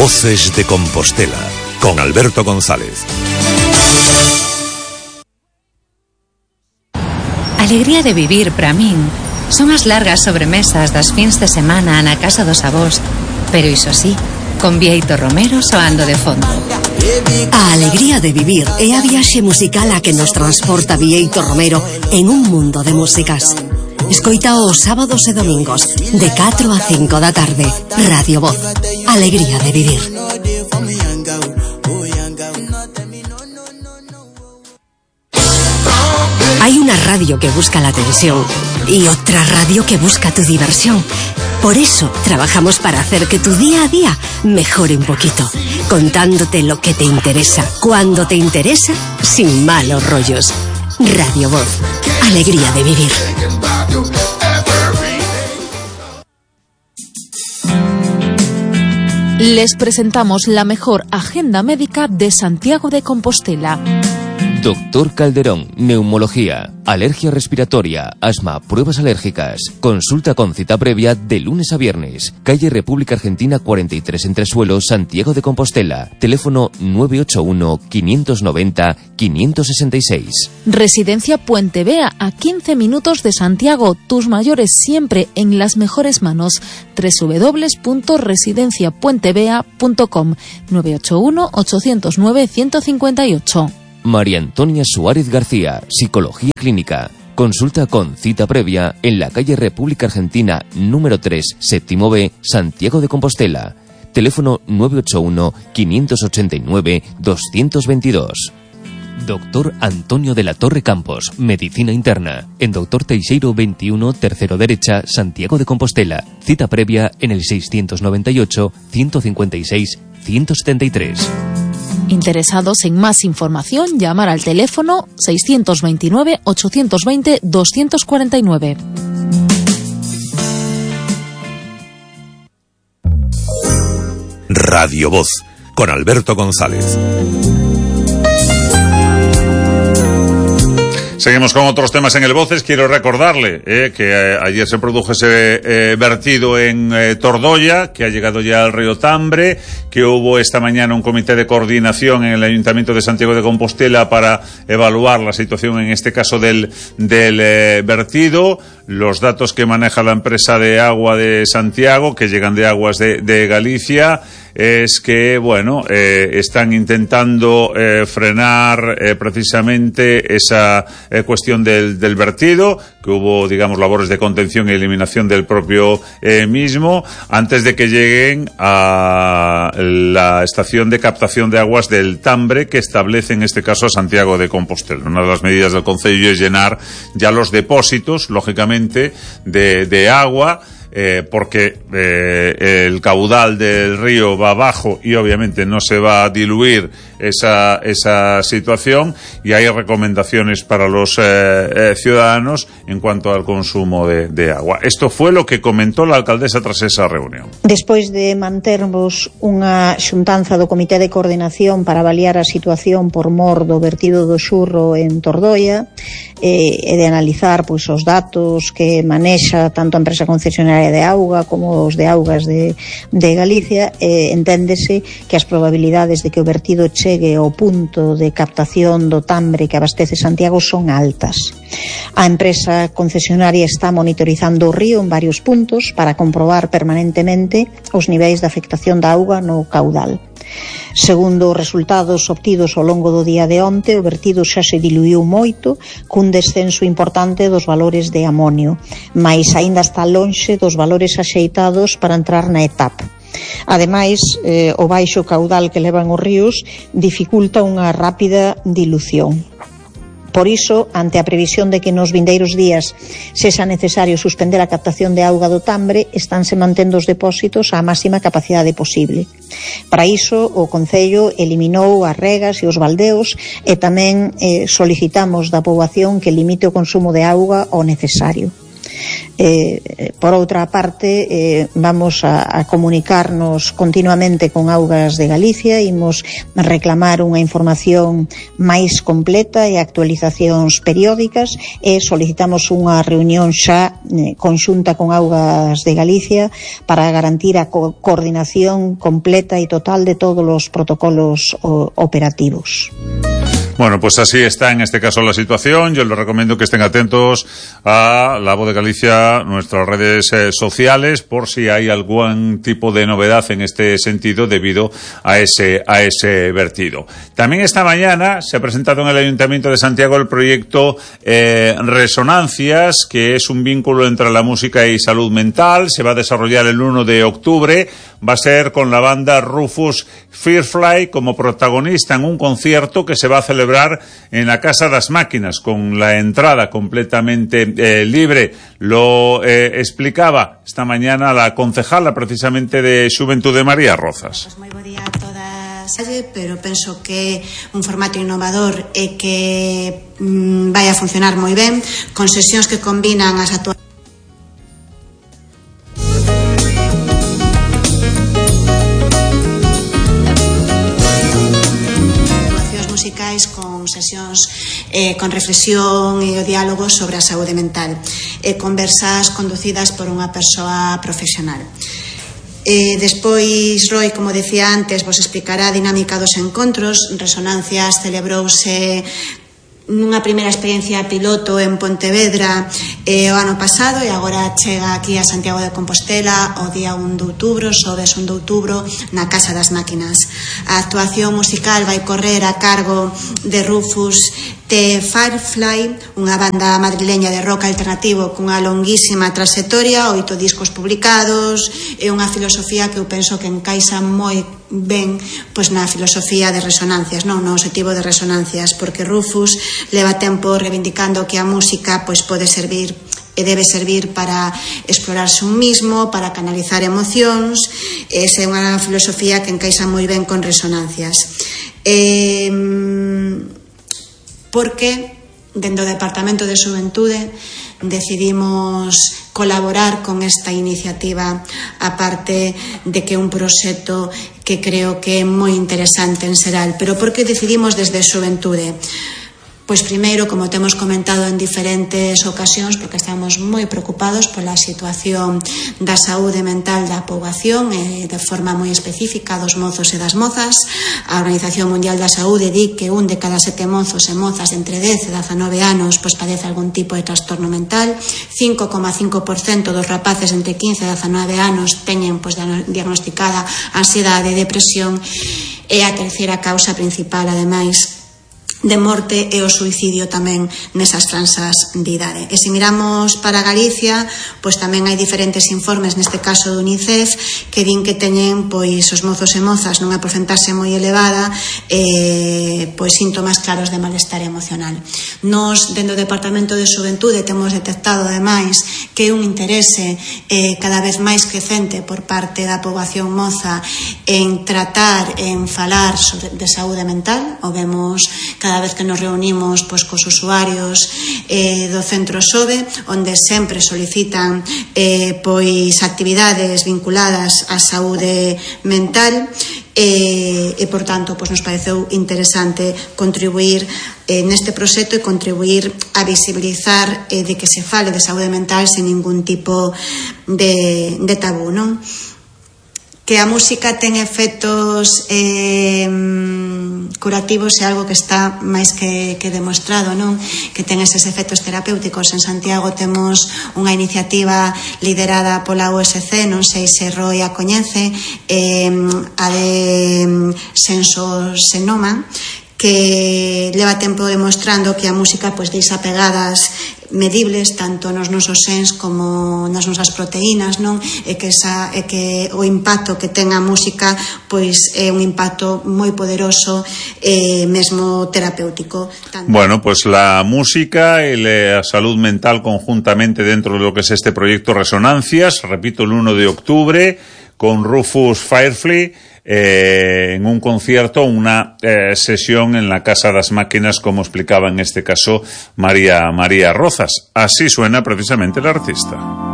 Voces de Compostela, con Alberto González. Alegría de vivir para min son as largas sobremesas das fins de semana na casa dos avós, pero iso sí, con Bieito Romero soando de fondo. A alegría de vivir é a viaxe musical a que nos transporta Bieito Romero en un mundo de músicas. Escoita os sábados e domingos de 4 a 5 da tarde. Radio Voz, alegría de vivir. Hay una radio que busca la tensión y otra radio que busca tu diversión. Por eso trabajamos para hacer que tu día a día mejore un poquito, contándote lo que te interesa, cuando te interesa, sin malos rollos. Radio Voz, alegría de vivir. Les presentamos la mejor agenda médica de Santiago de Compostela. Doctor Calderón, neumología, alergia respiratoria, asma, pruebas alérgicas. Consulta con cita previa de lunes a viernes. Calle República Argentina 43 Entresuelo, Santiago de Compostela. Teléfono 981-590-566. Residencia Puente Vea, a 15 minutos de Santiago. Tus mayores siempre en las mejores manos. www.residenciapuentevea.com 981-809-158. María Antonia Suárez García, Psicología Clínica. Consulta con cita previa en la calle República Argentina número 3, séptimo B, Santiago de Compostela. Teléfono 981-589-222. Doctor Antonio de la Torre Campos, Medicina Interna. En Doctor Teixeiro 21, tercero derecha, Santiago de Compostela. Cita previa en el 628-156-173. Interesados en más información, llamar al teléfono 629-820-249. Radio Voz, con Alberto González. Seguimos con otros temas en el Voces. Quiero recordarle que ayer se produjo ese vertido en Tordoya, que ha llegado ya al río Tambre, que hubo esta mañana un comité de coordinación en el Ayuntamiento de Santiago de Compostela para evaluar la situación, en este caso del vertido. Los datos que maneja la empresa de agua de Santiago, que llegan de Aguas de Galicia, es que, bueno, están intentando frenar precisamente esa cuestión del vertido, que hubo, digamos, labores de contención y eliminación del propio mismo, antes de que lleguen a la estación de captación de aguas del Tambre, que establece en este caso Santiago de Compostela. Una de las medidas del Concello es llenar ya los depósitos, lógicamente, de agua, porque el caudal del río va abajo y obviamente no se va a diluir esa situación, y hay recomendaciones para los ciudadanos en cuanto al consumo de agua. Esto fue lo que comentó la alcaldesa tras esa reunión. Despois de mantermos unha xuntanza do Comité de Coordinación para avaliar a situación por mor do vertido do Xurro en Tordoia, e de analizar pois os datos que manexa tanto a empresa concesionaria de auga como os de augas de Galicia, enténdese que as probabilidades de que o vertido chegue ao punto de captación do Tambre que abastece Santiago son altas. A empresa concesionaria está monitorizando o río en varios puntos para comprobar permanentemente os niveis de afectación da auga no caudal. Segundo os resultados obtidos ao longo do día de onte, o vertido xa se diluiu moito, cun descenso importante dos valores de amonio, mais aínda está lonxe dos valores axeitados para entrar na etapa. Ademais, o baixo caudal que levan os ríos dificulta unha rápida dilución. Por iso, ante a previsión de que nos vindeiros días sexa necesario suspender a captación de auga do Tambre, estánse mantendo os depósitos á máxima capacidade posible. Para iso, o Concello eliminou as regas e os baldeos, e tamén solicitamos da poboación que limite o consumo de auga ao necesario. Por outra parte, vamos a comunicarnos continuamente con Augas de Galicia, imos reclamar unha información máis completa e actualizacións periódicas, e solicitamos unha reunión xa conxunta con Augas de Galicia para garantir a coordinación completa e total de todos os protocolos operativos. Bueno, pues así está en este caso la situación. Yo les recomiendo que estén atentos a La Voz de Galicia, nuestras redes sociales, por si hay algún tipo de novedad en este sentido debido a ese vertido. También esta mañana se ha presentado en el Ayuntamiento de Santiago el proyecto Resonancias, que es un vínculo entre la música y salud mental. Se va a desarrollar el 1 de octubre. Va a ser con la banda Rufus Firefly como protagonista en un concierto que se va a celebrar en la Casa das Máquinas, con la entrada completamente libre. Lo explicaba esta mañana la concejala precisamente de Xuventude, María Rozas. Pues moi bo día a todas, pero penso que un formato innovador e que vai a funcionar moi ben, con sesións que combinan as actuacións musicais, con sesións con reflexión e o diálogo sobre a saúde mental, conversas conducidas por unha persoa profesional. Despois Roy, como decía antes, vos explicará a dinámica dos encontros. Resonancias celebrouse nunha primeira experiencia piloto en Pontevedra o ano pasado, e agora chega aquí a Santiago de Compostela o día 1 de outubro, xoves 1 de outubro, na Casa das Máquinas. A actuación musical vai correr a cargo de Rufus Firefly, unha banda madrileña de rock alternativo cunha longuísima trayectoria, 8 discos publicados, e unha filosofía que eu penso que encaixa moi ben pois na filosofía de Resonancias, non no objetivo de Resonancias, porque Rufus leva tempo reivindicando que a música pois pode servir e debe servir para explorarse un mismo, para canalizar emocións. Esa é unha filosofía que encaixa moi ben con Resonancias. Porque dentro do Departamento de Xuventude decidimos colaborar con esta iniciativa, aparte de que é un proxecto que creo que é moi interesante en xeral. Pero por que decidimos desde Xuventude? Pois primeiro, como temos comentado en diferentes ocasións, porque estamos moi preocupados pola situación da saúde mental da poboación, de forma moi específica dos mozos e das mozas. A Organización Mundial da Saúde di que 1 de cada 7 mozos e mozas entre 10 e 19 anos pois padece algún tipo de trastorno mental. 5,5% dos rapaces entre 15 e 19 anos teñen pois diagnosticada ansiedade e depresión, e a terceira causa principal, ademais, de morte e o suicidio tamén nesas franxas de idade. E se miramos para Galicia, pois tamén hai diferentes informes, neste caso do UNICEF, que din que teñen pois os mozos e mozas nunha porcentaxe moi elevada pois síntomas claros de malestar emocional. Nos, dentro do Departamento de Xuventude, temos detectado ademais que é un interese cada vez máis crecente por parte da poboación moza en tratar, en falar de saúde mental. O vemos cada vez que nos reunimos pois cos usuarios do centro SOBE, onde sempre solicitan pois actividades vinculadas á saúde mental, e por tanto pois nos pareceu interesante contribuir neste proxecto e contribuir a visibilizar de que se fale de saúde mental sen ningún tipo de tabú, non? Que a música ten efectos curativos é algo que está máis que demostrado, non? Que ten eses efectos terapéuticos. En Santiago temos unha iniciativa liderada pola USC, non sei se Roy a coñece, a de Sensosenoma, que leva tempo demostrando que a música pois deixa pegadas medibles tanto nos nosos sens como nas nosas proteínas, non? E que o impacto que ten a música pois é un impacto moi poderoso e mesmo terapéutico. Bueno, pues la música y la salud mental conjuntamente dentro de lo que es este proyecto Resonancias, repito, el 1 de octubre con Rufus Firefly, en un concierto, una sesión en la Casa das Máquinas, como explicaba en este caso María Rozas. Así suena precisamente el artista.